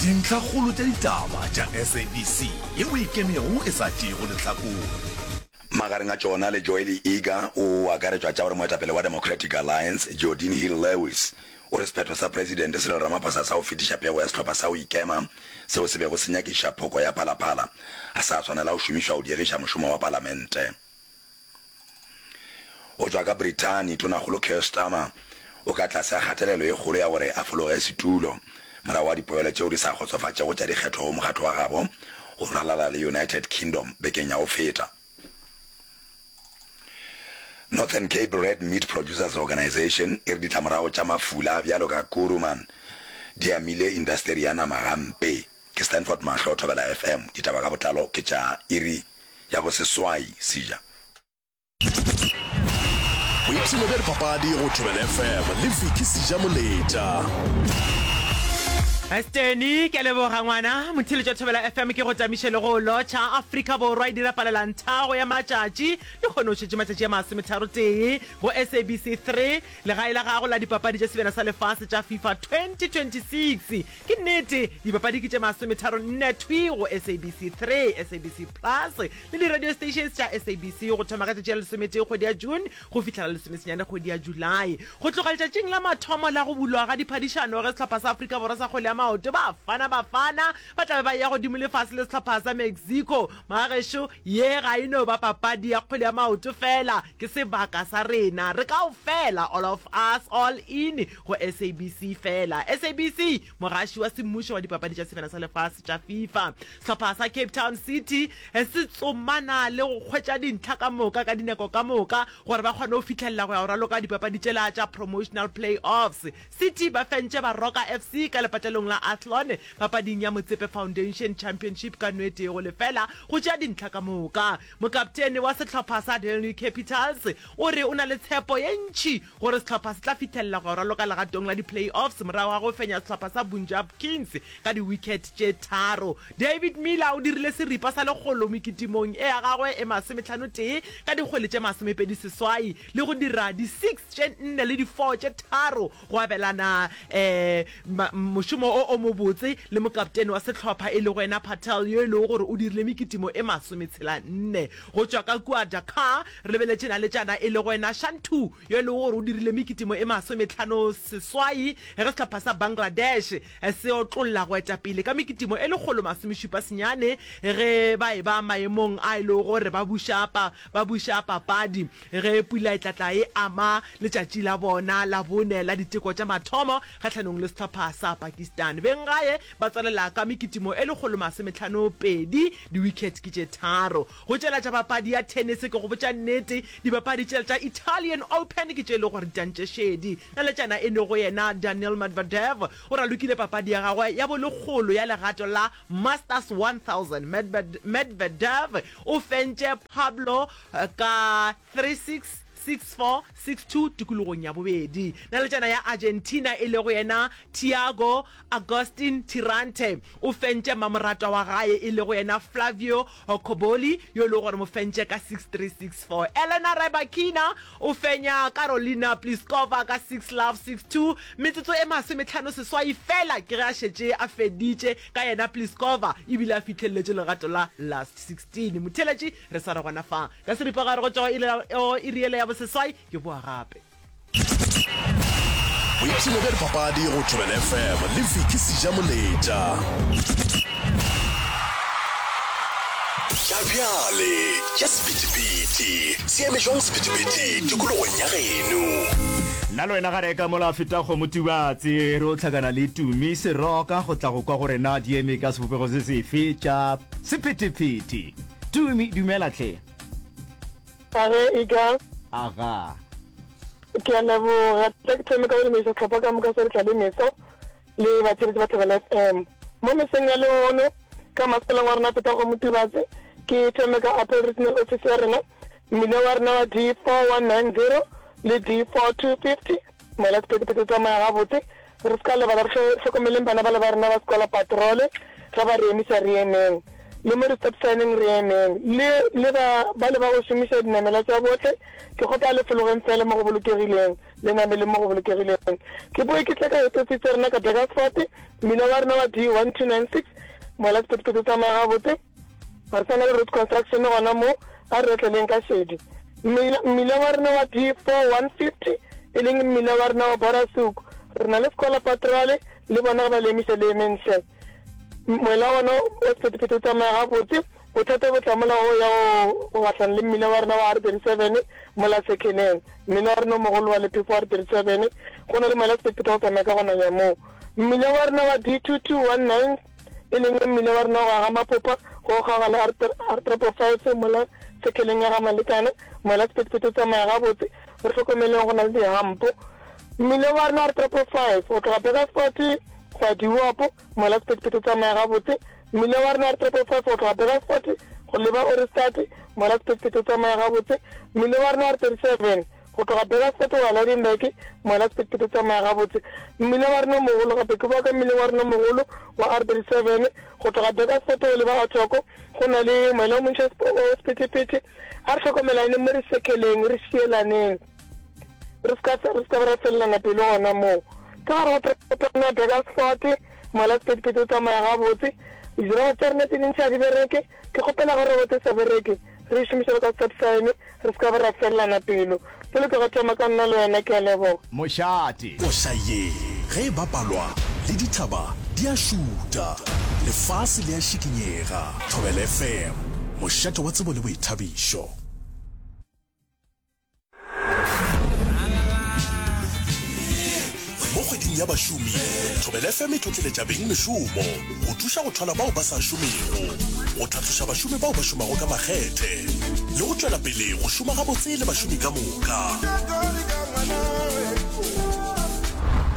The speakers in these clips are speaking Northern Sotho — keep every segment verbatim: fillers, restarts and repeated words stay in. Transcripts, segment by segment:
Dintlhakgolo tša ditaba tša S A B C yeo e ikemego e sa tšeego lehlakore. Magareng a tšona le Joeli Eager o akaretšwa tša gore moetapele wa Democratic Alliance, Geordin Hill-Lewis, o re sephetho sa Presidente Cyril Ramaphosa sa go fetiša pego ya sehlopha sa go ikema seo se bego se nyakišiša phoko ya Phala Phala ga sa swanela go šomišwa go diegiša mošomo wa palamente. Go tšwa ka Brithani, Tonakgolo Keir Starmer o ka tlase ga kgatelelo ye kgolo ya gore a fologe setulo morago ga dipoelo tšeo di sa kgotsofatšego tša dikgetho go mokgatlo wa gabo go ralala le United Kingdom bekeng ya go feta. Northern Cape Red Meat Producers Organisation e re ditlamorago tša mafula a bjalo ka Kuruman di amile indasteri ya nama gampe. Ke Stanford Mahlo, Thobela F M. Ditaba ka botlalo ke tša iri ya boseswai, Seja. Boipshino bja dipapadi go Thobela F M le Vicky Seja Moletša. Steny, ke a leboga ngwana. Motheeletši wa Thobela F M ke go tamiše le go lotšha. Afrika Borwa e dira palelanthago ya matšatši. Lehono o šetše matšatši a masometharo tee go S A B C three, legae la gago la dipapadi tša Sebjana sa Lefase tša FIFA twenty twenty-six. Ke nnete, dipapadi ke tše masometharo nne thwi go S A B C three, S A B C Plus le di-radio stations tša S A B C go thoma ka tšatši la lesometee kgwedi ya June go fihla la lesomesenyane kgwedi ya July. Go tloga letšatšing la mathomo la go bulwa ga diphadišano ge sehlopha sa Afrika Borwa sa kgwele ya maoto Bafana Bafana ba tla be ba eya godimo le fase le sehlopha sa Mexico. Magagešo, ye ga e no ba papadi ya kgwele ya maoto fela, ke sebaka sa rena re kaofela, all of us, all in go S A B C fela. S A B C, mogaši wa semmušo wa dipapadi tša Sebjana sa Lefase tša FIFA. Sehlopha sa Cape Town City se tsomana le go hwetša dintlha ka moka ka dinako ka moka gore ba kgone go fihlelela go ya go raloka dipapadi tšela tša promotional play-offs. City ba fentše Baroka F C ka lepatlelong la Athlone papading ya Motsepe Foundation Championship ka nwe tee go lefela go tšea dintlha ka moka. Mokaptene wa sehlopha sa Delhi Capitals o re o na le tshepo ye ntši gore sehlopha se tla fihlelela go ya go raloka legatong la di-play-offs morago ga go fenya sehlopha sa Punjab Kings ka di-wicket tše tharo. David Miller o dirile seripa sa lekgolo mekitimong e ya gagwe e masometlhano tee ka dikgwele tše masomepedi seswai le go dira di-six tše nne le di-four tše tharo go abelana um mošomo o o mobotse le mokaptene wa sehlopha e lego yena Patel yo e lego gore o dirile mekitimo e masometshela nne. Go tšwa ka kua Dakar re lebeletše naletšana e lego yena Shantu yo e lego gore o dirile mekitimo e masometlhano seswai ge sehlopha sa Bangladesh se otlolla go eta pele ka mekitimo e lekgolo masomešupa senyane ge ba e ba maemong a e lego gore ba buša pa ba buša papadi ge pula e tlatla e ama letšatši la bona la bone la diteko tša mathomo kgahlanong le sehlopha sa Pakistan. Benggae ba tswalela ka mekitimo e lekgolo masometlhano pedi, di-wicket ke tše tharo. Go tšela tša papadi ya tennis, ke go botša nnete, dipapadi tšela tša Italian Open ke tše e lego gore di tantše šedi. Naletšana e lego yena Daniil Medvedev o ralokile papadi ya gagwe ya bolekgolo ya legato la Masters one thousand. Medvedev o fentše Pablo ka three six, six four, six two tikologong ya bobedi. Naletšana ya Argentina e lego yena Thiago Agustin Tirante o fentše mamoratwa wa gae e lego yena Flavio Cobolli yo e lego gore mo fentše ka six three, six four. Elena Rybakina o fenya Karolina Pliskova ka six love, six two, metsotso e masometlhano seswai fela ke ge a šetše a feditše ka yena Pliskova ebile a fihlelletše legato la last sixteen. Motheeletši, re sware gona fa ka seripagare go tšwa go iri yela ya boseswai, ke boa gape. Boipshino bja dipapadi go Thobela F M le Vicky Seja Moletša. Tša bjale tša sephethephethe se eme jwang sephethephethe tikologong ya geno? Nna le wena ga reka mola feta kgomo Tubatse re o hlakana le Tumi Seroka go tla go kwa gore na di eme ka sebopego se sefe tša sephethephethe. Tumi, dumela hle. Age ika. Aga. Ke a leboga. Tla ke thome ka go dumediša sehlopha ka moka sa Re Tla Le Meso le batheeletši ba Thobela F M. Mo mesong ya lehono ka masepaleng wa rena Feta Kgomo Tubatse, ke thome ka Apple Regional Office ya rena, mmila wa rena wa D four one nine zero le D four two fifty, mola sephethephethe se tsamaya gabotse. Re se ka lebala re hlokomeleng bana bale ba rena ba sekola patrole, ge ba re emiša re emeng. Le mo di-stop sign-eng re emeng. Le, le ba, ba le ba go šomiša dinamela tša bohle, ke kgopela le fologeng feela mo go bolokegileng, le nameleng mo go bolokegileng. Ke boe ke tle ka ofisi tša rena ka Burgersfort, mmila wa rena wa D one two nine six, mola sephethephethe se tsamaya gabotse. Ga re sa na le road construction gona mo, a re otleleng ka šedi. Mmila, mmila wa rena wa D four one fifty, e leng mmila wa rena wa Borasoek, re na le Scholar Patrol, le bona ge ba le emiša le emeng hle. Moela wona wa sephethephethe o tsamaya gabotse. Bothata bo tla mola go ya go gahlana le mmila wa rena wa R thirty seven mola Sekheneng. Mmila wa rena o mogolo wa lephefo wa R thirty seven, go na le moela wa sephethephethe wa go tsamaya ka go nanya moo. Mmila wa rena wa D two two one nine, e leng mmila wa rena wa go aga Mapopa go kgaoga le R triple five mola Sekheneng ya ga Malekana, moela wa sephethephethe o tsamaya gabotse. Re hlokomeleng go na le dihampo. Mmila wa rena wa R triple five go tloga Burgersfort go ya Diwopo, mola sephethephethe o tsamaya gabotse. Mmila wa rena wa R triple five go tloga Burgersfort go leba Ohrigstad, mola sephethephethe o tsamaya gabotse. Mmila wa rena wa R thirty seven go tloga Burgersfort go ya Lydenburg, mola sephethephethe o tsamaya gabotse. Mmila wa rena o mogolo gape ke boa ka mmileng wa rena o mogolo wa R thirty seven go tloga Burgersfort go leba Athoko, go na le moela o montši wa sephethephethe. A re hlokomelaneng mo re sekeleng, re šielaneng. Re se ka, re se ka ba ra felelana pelo gona moo. Ka gare ga toropo ya Burgersfort, mola sephethephethe o tsamaya gabotse, dirobo tša rena tše dintši ga di bereke. Ke kgopela ge roboto e sa bereke, re e šomiše bjalo ka stop sign, re se ka ba ra felelana pelo. Polokego thoma ka nna le wena. Ke a leboga. Mošate. Koša ye ge e bapalwa, le dithaba di a šutha, lefase le a šikinyega. Thobela F M, mošate wa tsebo le boithabišo. Mo kgweding ya bašomi, Thobela F M e tlotleletša beng mešomo go thuša go thwala bao ba sa šomego, go tlhatloša bašomi bao ba šomago ka makgethe le go tšwela pele go šoma gabotse le bašomi ka moka.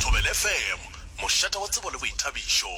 Thobela F M, mošate wa tsebo le boithabišo.